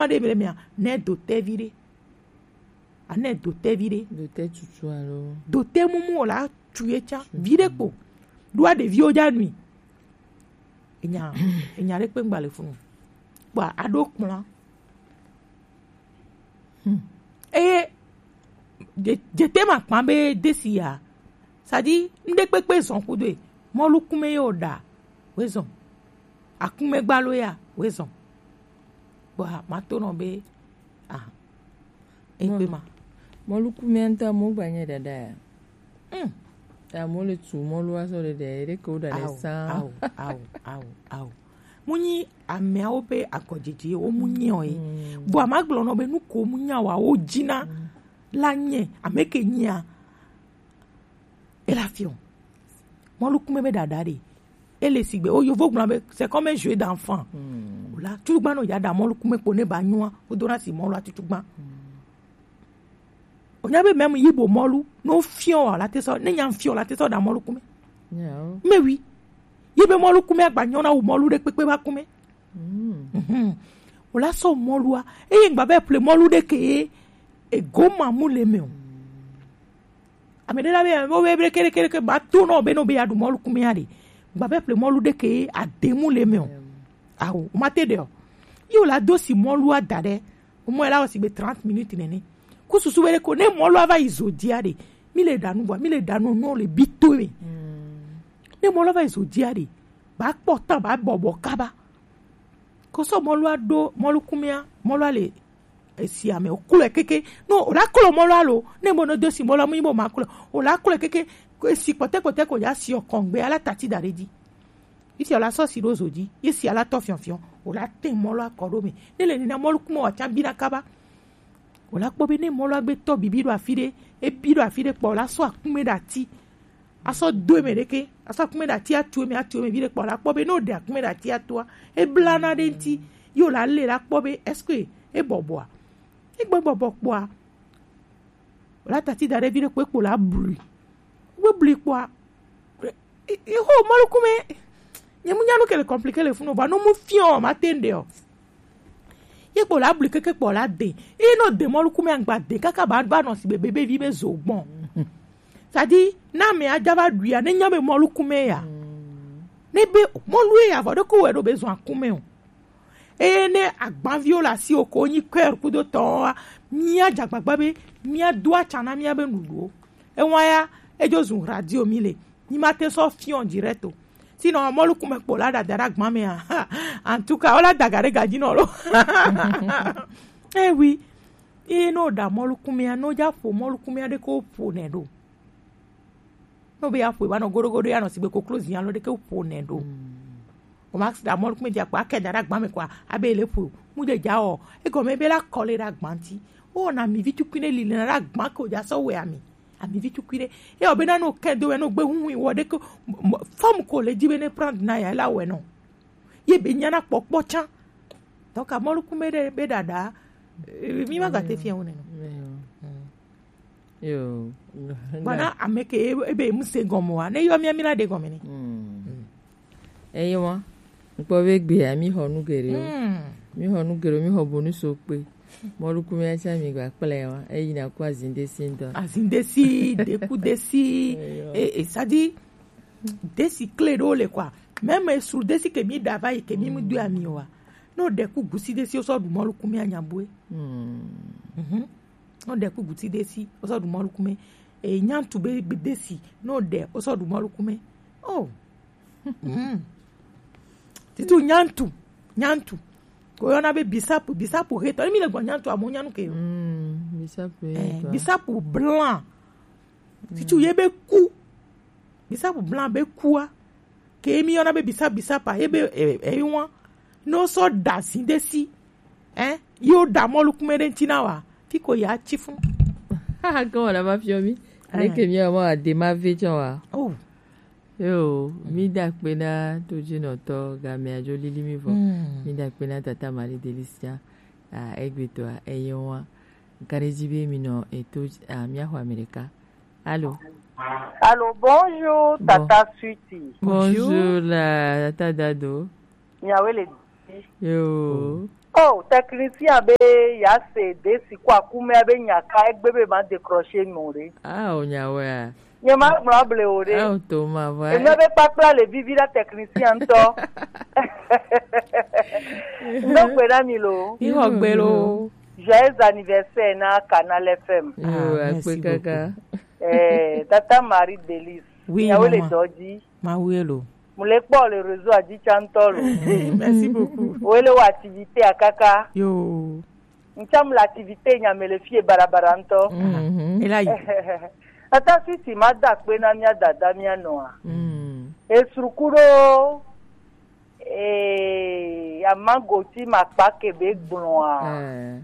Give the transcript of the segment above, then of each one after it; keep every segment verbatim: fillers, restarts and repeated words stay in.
ɖe mi le mia, ne do te vi ɖe. Ane do te vi ɖe. Do te tutu alo. Do te mumu o la tu ye tsa. Vi ɖe kpo. Ɖo a ɖeviwo dza nui. Enya, enya ɖe kpe ŋgba le funu. Kpɔa, aɖo kplɔa. Hmm. Eye, dze-, dzete ma kpa be desi ya. Sadi, ŋɖe kpekpe zɔn kudo e. Mɔlu kume ye o ɖa, we zɔn. Akume gbalo ya, we zɔn. Kpɔa, ma to nɔ be, ah, egbe ma. Mɔlu kume ŋutɔ, mo gba nye ɖaɖa ya. Hmm. Amewo le tu mɔlu azɔ ɖe ɖe, ɖe ke wo ɖa le Ao, sã. Ao, ao, ao, ao. Mu nyi ameawo be agɔdzedze wo mu nyi o ye. Mm. Bua ma gblɔ nɔ be nu ko mu nya wa wo dzina la nye, ame ke nyia. Ela fiɔ. Mɔlu kume be ɖaɖa ɖe. Ele sigbe, o yovo gblɔ be, c'est comme un jeu d'enfant. Mm. O la, tu gba no ya ɖa mɔlu kume kpo ne ba nyua, o do na si mɔlu a tutu gba. Mm. O nya be même yibo mɔlu, no fiɔ wa la te sɔ, ne nya fiɔ la te sɔ ɖa mɔlu kume. Yeah. Mais oui. Yi be mɔlu kume agba nyɔ na wu mɔlu ɖe kpekpe ba kume. Mm. Mhm. O la sɔ mɔlua, eye ŋgba be ple mɔlu ɖe ke ye, ego ma mu le me o. Ame ɖe la be, wo be, be, kere, kere, ke ba to nɔ be, no be ya ɖu mɔlu kume ya ɖe. Ŋgba be ple mɔlu ɖe ke ye, ade mu le me o. Awo, o ma te ɖe o. Yi o la do si mɔlua da ɖe. O mɔ la o si be trente minutes nene. Ku susu be ɖe ko, ne mɔlua va yi zo dia ɖe. Mi le ɖa nu bua, mi le ɖa nu, no le bi to me. Mm. Ne mɔlua va yi zo dia ɖe. Ba kpɔ tan, ba bɔbɔ kaba. Ko sɔ mɔlua ɖo, mɔlu kumea, mɔlua le esi ame, o klɔe keke. No, o la klɔ mɔlua lo. Ne bo no do si mɔlua mu yi bo ma klɔ. O la klɔe keke, ko esi kpɔtɛ kpɔtɛ ko ya si o kɔngbe, ala tati da ɖe dzi. Esi o la sɔ si ɖo zo dzi, esi ala tɔ fiɔfiɔ, o la te mɔlua kɔ ɖo me. Ne le nina mɔlu kume wa tsa bi na kaba. O la kpɔ be ne mɔlua gbe tɔ bibi ɖo afi ɖe, ebi ɖo afi ɖe kpɔ, o la sɔ akume ɖe ati. Asɔ do eme ɖeke, asɔ akume ɖe ati atu eme, atu eme vi ɖe kpɔ, la kpɔ be ne o ɖe akume ɖe ati atua, ebla na ɖe ŋti, ye o la le la kpɔ be est-ce que ebɔbɔa? Egbe bɔbɔ kpɔa, o la tati da ɖe vi ɖe kpo ekpo la blui. Wo blui kpɔa, e, e, e, ho mɔlu kume, nye mu nya nu ke le compliqué le funu, vɔ no mu fiɔ, ma te ŋɖe o. Ye kpo la bli keke kpɔ la de. Ye no de mɔlu kume angba de kaka ba ba nɔ si be bebe vi be zo gbɔn. Sadi na me aja va ɖuia ne nya be mɔlu kume ya. Ne be mɔlu ye ya vɔ ɖe ko wɛ ɖo be zɔn akume o. Eye ne agbanviwo le asi o ko nyi kɔe kudo tɔ wa, mia dza gbagba be mia do atsa na mia be nuɖuɖuwo. Ewa ya, edzo zu radio mi le. Nyi ma te sɔ fiɔ direct o. Sinon, mɔlu kume kpo la dada ɖe agban mea. En tout cas, o la daga ɖe gadzi nɔ lo. Eh oui. Ye no ɖa mɔlu kumea, no dza ƒo mɔlu kumea ɖe ko ƒo nɛ ɖo. No be ya ƒo, ba nɔ goɖogoɖo ya nɔ sigbe koklo zi alo ɖe ke ƒo nɛ ɖo. O ma ɖa mɔlu kume dzi akpa ke da ɖe agban me kɔa, abe le ƒo. Mu de dza o. Egɔme be la kɔ le ɖe agban ti. O na mi vi tukui ne li le na ɖe agban ko dza sɔ wɛ ami. Ami vi tukui ɖe. Ye o be na no ke do wɛ no gbe huhui wɔ ɖe ko. Fam ko le dzi be ne prendre na ya la wɛ no. Ye be nyana kpɔkpɔ tsã. Donc, amɔlu kume ɖe be ɖaɖa, eh, mi ma gate fia wo neno. Yo. Bana ame ke e, ebe mu se gɔme wa. Ne yɔ mia mi la de gɔme ne. Eye wa. Nkpɔ be gbea, mi xɔ nu geɖewo. Mi xɔ nu geɖewo, mi xɔ bonu so kpe. Mɔlu kume ya tsã mi gba kplɛ wa. Eyi na ku azinde si ŋdɔ. Azinde si, deku desi, e, e, sadi, desi kle ɖewo le kɔa. Mɛmɛ sru desi ke mi ɖa va yi ke mi mu do ami wa. No ɖe ku gusi desi o sɔ ɖu mɔlu kume anya bue. Mhm. No ɖe ku gusi desi o sɔ ɖu mɔlu kume. E nyantu be, be desi no ɖe o sɔ ɖu mɔlu kume. Oh. Mm. Titu nyantu, nyantu. Ko yɔna be bisapu, bisapu hetɔ. Emi le gbɔ nyantu amo nyanu ke yo. Mm, bisapu eh, hetɔ. Bisapu blanc. Titu ye be ku. Bisapu blanc be kua. Ke emi yɔna be bisapu, bisapa ye be, eh, eh, wan. No sɔ da zin de si. Eh, yo da mɔlu kume ɖe ŋti na wa. Fi ko ya tsi fun. Haha, ke wala va fiɔ mi. Ne ke mi wa ma de ma ve tsɔ wa. Oh. Yo, mi da kpe na to dzi nɔtɔ, gamea dzo lili mi vɔ. Mm. Mi da kpe na tata Marie Delicia, a, egbetɔa, eye wa. Nka ɖe dzi be mi nɔ eto, a, mi axɔ Amerika. Allô? Allô, bonjour, bon. Tata Sweetie. Bonjour, la tata Dado. Miawe le di. Yo. Oh, technicien be ya se de si ko akume be nya ka egbe be ma décrocher nu re. Ah, o nya we a. Nye ma gblɔ ble o re. Ah, o to ma va. Eme be kpakpla le vivi la technicien ŋutɔ. Ndo gbe na mi lo. Ixɔ gbe lo. Joyeux anniversaire na Canal F M. Yo, ah, akpe kaka. Eh, Tata Marie Delice. Oui, maman. Nyawo le dɔ dzi. Mawu ye lo. Mu le kpɔ le réseau a dzi tsantɔ lo. Merci beaucoup. Wo le wa activité a kaka. Yo. Ntsam le activité nya me le fie barabara ŋutɔ. Mhm. Et là, il- Ata sisi ma da kpe na mia dada mia nɔa. Mm. Esuruku ɖo, eh, amagoti ma kpa kebe gblɔa. Eh.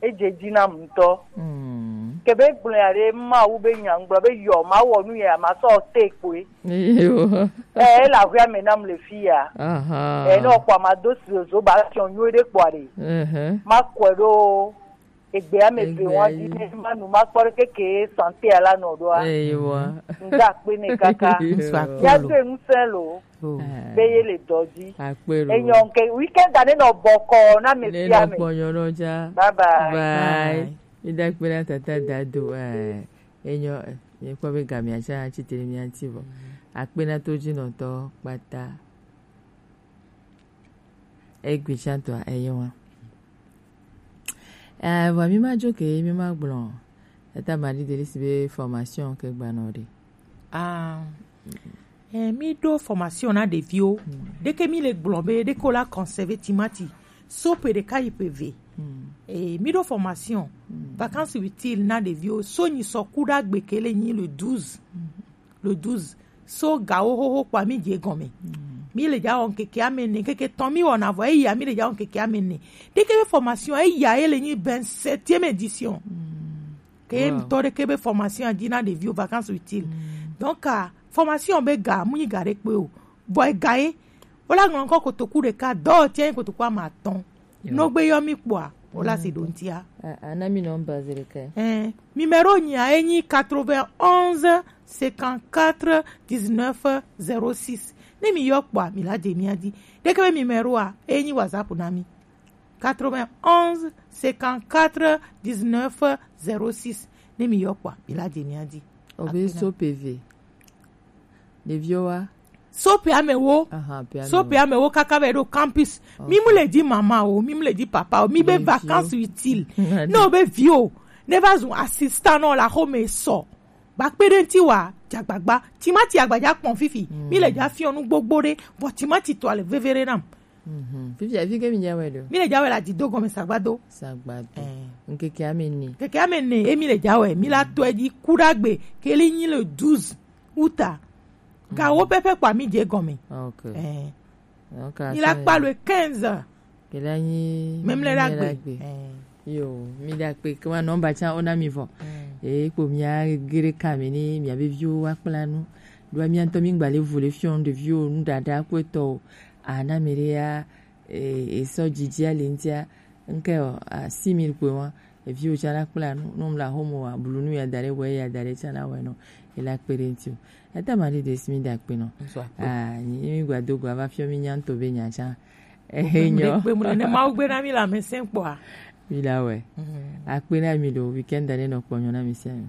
Edze dzi nam ŋutɔ. Mm. Kebe gblɔ ya ɖe, Mawu be nya ŋgblɔ be yɔ ma wɔ nu ya ma sɔ te kpoe. Yo. Eh, ele ahuia me nam le fi ya. Aha. Eh, ne ɔkpɔ ma do si zo ba fiɔ nyuie ɖe kpɔ ɖe. Mhm. Ma kɔe ɖo egbe ame ve wa di ne ma nu ma kpɔ ɖe keke santé ala nɔ ɖoa. Eyo. Nda kpe ne kaka. Ŋsɔ akpe lo. Ya do ŋusẽ lo. Oh. Eh. Be ye le dɔ dzi. Akpe lo. Enyɔ nke weekend ane nɔ bɔkɔ na me ne fia nɔ me. Kpɔ nyɔ nɔ dza. Bye bye. Bye. Bye. Mi da kpe na tata dado. Eh. Enyɔ, eh, mi kpɔ be gamia tsa tsi te mi ati vɔ. Akpe na to dzi nɔtɔ kpata. Egbe tsa tɔa eyo wa. Eh, vɔ mi ma dzo ke mi ma gblɔ. Eta ma di deli si be formation ke gba nɔ de. Ah. Eh, mi ɖo formation na ɖeviwo. Mm. Ɖeke mi le gblɔ be ɖeke wo la conserver timati. So pe ɖeka yi pe ve. Mm. Eh, mi ɖo formation. Mm. Vacances utiles na ɖeviwo. So nyi sɔ ku ɖa gbe ke le nyi le douze. Mm. Le douze. So gawo xoxo kpa mi dze gɔme. Mm. Mi le dza wɔ ŋkeke ame ne, ŋkeke tɔn mi wɔna vɔ eya mi le dza wɔ ŋkeke ame ne. Ɖeke be formation eya ye le nyi vingt-septième édition. Mm. Ke ye ŋutɔ ɖeke be formation a dzi na ɖeviwo vacances utiles. Mm. Donc, ah, formation be ga, mu nyi ga ɖe kpe o. Vɔ ega ye, wo la ŋlɔ ŋkɔ kotoku ɖeka, dɔ tiɛ nyi kotoku ame atɔ̃. Yo. No gbe yɔ mi kpɔa, wo la se ɖo ŋtia. Ah, ah, na mi nɔmba zi ɖeka. Eh, numéro nyia enyi quatre-vingt-onze cinquante-quatre dix-neuf zéro six. Ne mi yɔ kpɔa, mi la dze mia di. Ɖeke be numéro a, enyi WhatsApp na mi. Quatre-vingt-onze cinquante-quatre dix-neuf zéro six. Ne mi yɔ kpɔa, mi la dze mia di. Obe so peve. Ɖeviwo wa. So pe amewo. Aha, pe amewo. So pe amewo kaka be ɖo campus. Ok. Mi mu le di mama o, mi mu le di papa o, mi be vacances utiles. Ne o be vi o, ne va zu assistant nɔ la xome sɔ. Ba kpe ɖe ŋti wa, dzagbagba. Timati agbadza kpɔn fifi. Mm. Mi le dza fiɔ nu gbogbo ɖe, vɔ timati tɔ le veve ɖe nam. Mhm. Fifia, fi ke mi dza wɛ ɖo? Mi le dza wɛ le adido gɔme sagbado. Sagbado. Eh. Ŋkeke ame ne. Ŋkeke ame ne, emi le dza wɛ, mi la tɔe dzi ku ɖa gbe, ke li nyi le douze août. Gawo pɛpɛ kpa mi dze gɔme. Ok. Eh. Ok, mi la kpa le quinze. Ke la nyi memle la gbe. Eh. Yo, mi da kpe ke wa nɔmba tsa ona mi vɔ. Mm. E kpo mia gere kame ni mia be viwo wa kpla nu. Ɖo mia ŋutɔ mi gba le vu le fiɔ ɖeviwo nu ɖaɖa kpɔtɔ o. Ana mi ɖe ya, e, e sɔ dzidzi ali ŋtia, ŋke o, a, six mille kpe wa, eviwo tsa la kpla nu, no mla homo wa, blu nu ya da ɖe, wɛ ya da ɖe tsa la wɛ nɔ, e la kpe ɖe ŋti o. Eta ma ɖe de si mi da kpe nɔ. Ŋsɔ akpe. A, nyi mi gba do gba va fiɔ mi nya ŋutɔ be nya tsa. E nyɔ. Kpe mu ne Mawu gbe na mi la mɛsɛn kpɔa. Mi la wɛ. Mm. Akpe na mi ɖo weekend ɖe nɔ kpɔ nyɔ na mi sia mi.